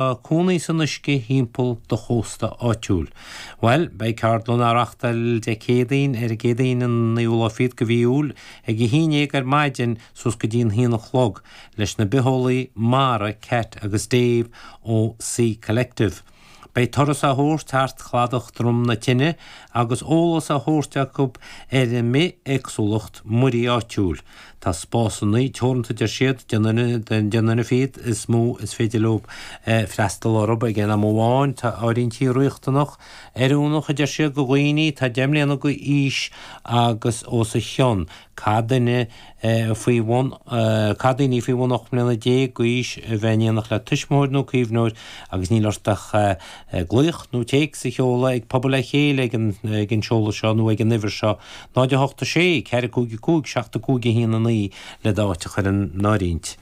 Cónaí san uisce thimpeall do chósta áitiúil. Bhuel, beidh ceardlann á reachtáil Dé Céadaoin ar an gCéadaoin an naoú lá fichead de mhí Iúil ag a haon dhéag ar maidin suas go dtí an haon a chlog leis na bitheolaí mara Cat agus Dave ó Sea Collective. Beidh turas á thabhairt thart chladach Drom na Tine agus eolas á thabhairt acu ar an mbithéagsúlacht muirí áitiúil. Tá spásanna teoranta, deir siad, deich nduine fichead is mó is féidir leo freastal orthu ag aon am amháin. Tá áirithintí riachtanach, oiriúnach, a deir siad, do dhaoine atá 10 mbliana d'aois agus os a chionn. Caithfidh duine faoi bhun, caithfidh daoine faoi bhun 18 mbliana d'aois a bheith in éineacht le tuismitheoir nó caomhnóir agus níl ort ach glaoch nó téacs a sheoladh ag Pobal le Chéile ag an seoladh seo nó ag an uimhir seo, 0 8 6 4 5 5 7 5 1 9 le d'áit a chur in áirithint.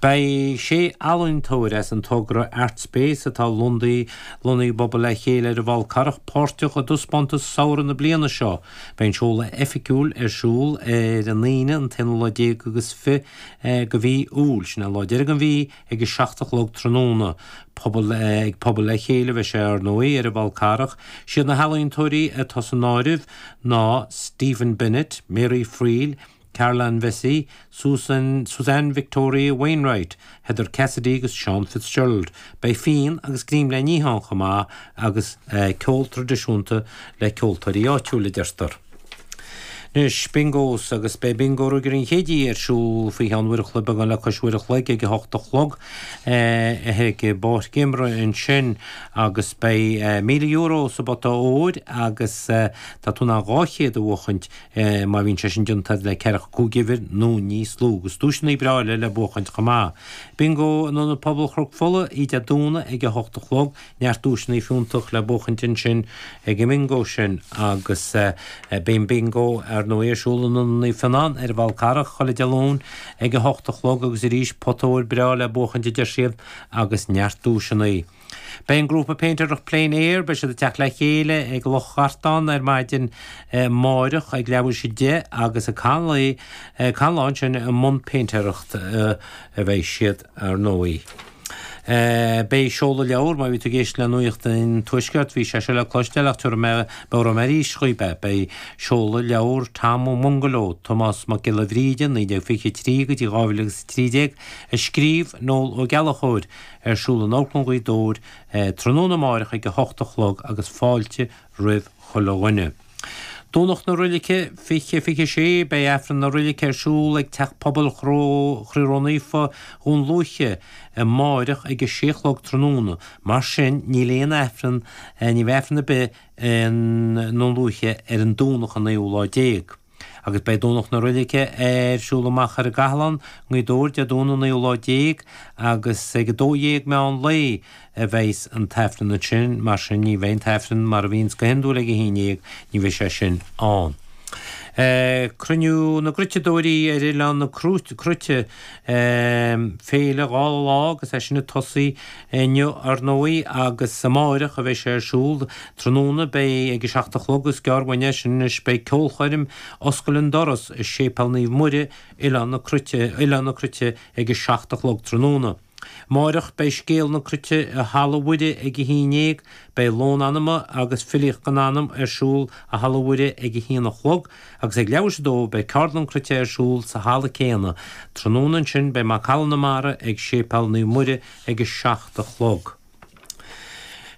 Beidh sé ealaíontóir as an togra Artspace atá lonnaithe i bPobal le Chéile ar an bhFál Carrach páirteach i dtaispeántas samhraidh na bliana seo. Beidh an seoladh oifigiúil ar siúl ar an Aoine an t-aonú lá déag agus fi de mhí Iúil, sin an lá deiridh den mhí, ag a 7 a chlog tráthnóna. Pobal ag Pobal le Chéile a bheidh sé, ar ndóigh, ar an bhFál Carrach. Siad na healaíontóirí atá san áireamh ná Stephen Bennett, Mary Friel, Caroline Vesey, Susan, Suzanne Victoria Wainwright, Heather Cassidy agus Sean Fitzgerald. Beidh fíon agus greim le n-ithe ann chomh maith agus ceol traidisiúnta le ceoltóirí áitiúil, a deirtear. Anois, bingos, agus beidh Bingo Ruaigire an Chéididh ar siúl faoi cheann uair a chloig, beagán le cois uair a chloig, ag a hocht a chlog ag an bpáirc imeartha ansin agus beidh €1,000 sa bpota óir agus tá tú in ann 200 a bhuachaint má bhíonn sé sin déanta le ceathracha cúig uimhir nó níos lú agus duaiseanna breá eile le buachaint chomh maith. Bingo in Ionad Pobail Chnoc Fola oíche Dé Domhnaigh ag a hocht a chlog. Neart duaiseanna fiúntach le buachaint ansin ag an mbingo sin agus beidh an bingo ar ndóigh ar siúl in Ionad Naomh Fionnán ar an bhFál Carrach chuile Dé Luain ag a hocht a chlog agus arís pota óir breá le buachaint a deir siad agus neart duaiseanna. Beidh an grúpa péintéireacht Plein Air, beidh siad ag teacht le chéile ag Loch Gartán ar maidin amáireach ag leathuair tar éis 10 agus ag caitheamh an lae ansin i mbun péintéireacht a bheidh siad ar ndóigh. Beidh seoladh leabhar, má bhí tú ag éisteacht le Nuacht an Tuaiscirt, bhí sé seo le cloisteáil ach tabharfaidh mé, meabhróidh mé arís dhaoib é. Beidh seoladh leabhar Tom Ó mBungaló, Tomás Mac Giolla Bhríde, 1923 go dtí 2013, a scríobh Noel Ó Gallchóir, ar siúl in Amharclann Ghaoth Dobhair tráthnóna amáireach ag a hocht a chlog agus fáilte roimh chuile dhuine. Domhnach na Roilice 20 26 Beidh Aifreann na Roilice ar siúl ag Teach Pobail Chroí Ró-Naofa Dhún Lúiche amáireach ag a sé a chlog tráthnóna. Mar sin níl aon Aifreann, ní bheidh Aifreann ar bith i nDún Lúiche ar an Domhnach an naoú lá déag. Agus beidh Domhnach na Roilice ar siúl amach ar an gCathlán, nGaoth Dobhair, Dé Domhnaigh an naoú lá déag agus ag 12 meán lae a bheidhs an tAifreann ansin, mar sin ní bheidh an tAifreann mar a bhíonns go hiondúil ag 11, ní bheidh sé sin ann. Cruinniú na gCruiteadóirí ar Oileán na Cruite, Féile 2 lá agus é sin ag tosaí inniu ar ndóigh agus amáireach a bheidh sé ar siúl. Tráthnóna beidh ag a 7 a chlog is gearr uainn é sin anois beidh ceolchoirm Oscail an Doras i Séipéal Naomh Muire, Oileán na Cruite, Oileán na Cruite ag a 7 a chlog tráthnóna. Amáireach beidh Scéal na Cruite i Halla Mhuire ag a haon dhéag, beidh Lón Anama agus Filíocht don Anam ar siúl i Halla Mhuire ag a haon a chlog agus ag leathuair tar éis a dó beidh Ceardlann Cruite ar siúl sa halla céanna. Tráthnóna ansin beidh Macalla na Mara ag Séipéal Naomh Muire ag a 7 a chlog.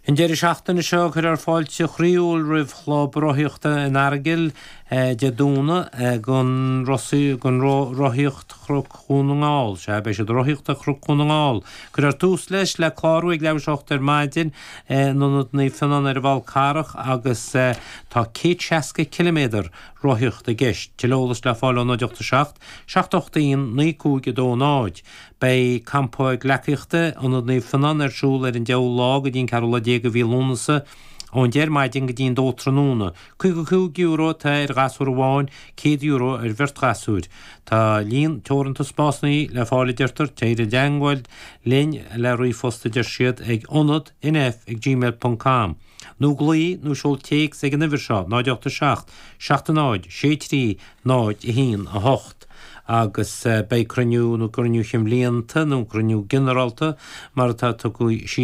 An deireadh seachtaine seo cuirfear fáilte chroíúil roimh Chlub Rothaíochta an Earagail Dé Domhnaigh don Rothaíocht Chnoc Dhún na nGall. Sea, beidh siad ag rothaíocht ar Chnoc Dhún na nGall. Cuirfear tús leis le clárú ag leathuair tar éis a 8 ar maidin in Ionad Naomh Fionnán ar an bhFál Carrach agus tá 160 ciliméadar rothaíochta i gceist. Tuilleadh eolais le fáil ó 0 8 7 7 8 1 9 5 2 0. Beidh Campa Gleacaíochta Ionad Naomh Fionnán ar siúl ar an deichiú lá go dtí an ceathrú lá déag de mhí Lúnasa, ón 10 ar maidin go dtí an 2 tráthnóna. €55 atá ar ghasúr amháin, €100 ar bheirt ghasúir. Tá líon teoranta spásanna le fáil a deirtear, téir i dteangmháil linn le ríomhphost a deir siad ag ionad nf ag gmail ponc com nó glaoigh nó seol téacs ag an uimhir seo, 0 8 7 7 0 6 3 0 1 8. Agus beidh cruinniú, nó cruinniú chinn bhlianta, nó cruinniú ginearálta mar atá tugtha síos.